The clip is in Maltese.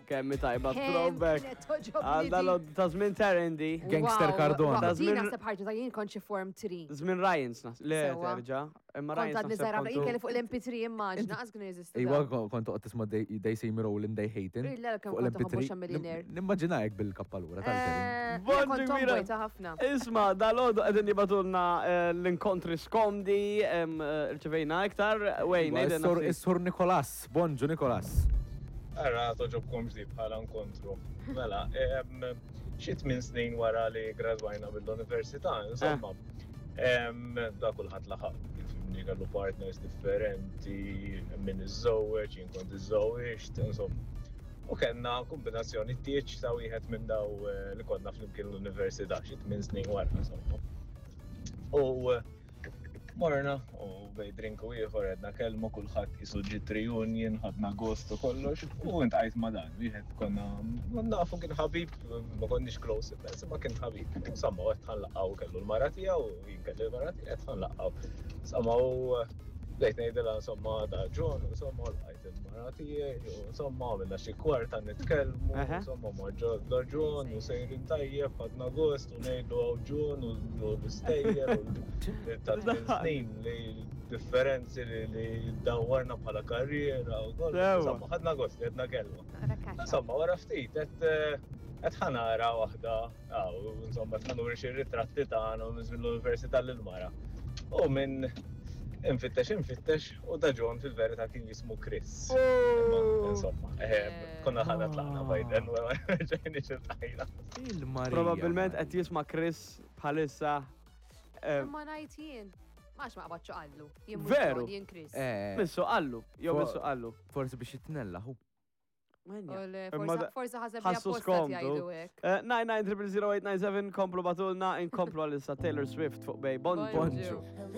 Kemm hi tajba throwback. Għal dal ta' żmien Terendi. Gangster Cardona. Ta' Din żmien- naħseb ħarġa ta' jien kont xi form 3. Żmien Ryans nas. Le Sewwa. terġa'. Imma Kont Ryans għadni naħseb żgħira ħafna, jien kontu- kelli fuq l-MP3 immaġna, qas kienu jeżistu. Iwa, dawn. kont toqgħod tisma' They They See Me Rollin' They Hatin'. Le, kemm fuq kont l-MP3. toħobbu xa millionaire. Nimmaġina hekk bil-kappalura tal-Terin. Eh, Bonġu jien kont kbira. tomboy ta' ħafna. Isma, dal-għodu għedin jibatulna eh, l-inkontri skomdi, em, eh, rċevejna iktar, Wayne, Iwa, għidilna Is-sur ftit. is-sur Nikolas, bonġu Nikolas. Ara, toġobkom ġdib bħala nkontru. Mela, em, xi tmien snin wara li gradwajna mill-università, insomma, em, da kulħadd laħaq jifhimni kellu partners differenti, min iżżewweġ, jien kont iżżewwiġt, insomma. U kellna kombinazzjoni tieġ ta' wieħed minn daw eh, li konna flimkien l-università xi tmien snin wara, insomma. U eh, Morna u bej drink u ieħor għedna kelma kulħadd qisu ġiet reunion, ħadna gost u kollox u intqajt ma' dan wieħed konna nafu kien ħabib, ma konniex close immens, ma kien ħabib. Insomma, qed ħanlaqgħu kellu l-mara tiegħu u jien kelli l-mara tiegħi qed ħanlaqgħu. Insomma, u bdejt ngħidilha insomma da John, insomma u lqajt il-mara tiegħi u insomma għamilna xi kwarta nitkellmu, insomma ma da John u sejrin tajjeb, ħadna gost u ngħidu hawn John u l-istejjer u ta' tmien snin li differenzi li li dawwarna bħala karriera u kollox. Insomma, ħadna gost li għedna kelma. Insomma, wara ftit qed qed ħanara waħda, insomma, qed ħanuri xi ritratti tagħna minn żmien l-università lil mara. U minn infittex infittex u da John fil-verità kien jismu Chris. Imma, Insomma, eh, konna ħana tlaqna bajden u ġejni xiltajna. Il-Marija. Probabilment qed jisma' Chris bħalissa. eh, Imma ngħid jien. Max ma qabadx qallu. Jien mhux Veru. John, jien Chris. Eh, Missu qallu, jew Fuq- missu qallu. Forsi biex jitnella, hu. U le, Imma forsa- da- Forsa ħaseb li ħassu apposta skomdu. jgħidu hekk. Eh, 9900897 komplu batulna, inkomplu għalissa Taylor Swift fuq bej Bonġu. Bonġu. Bonġu.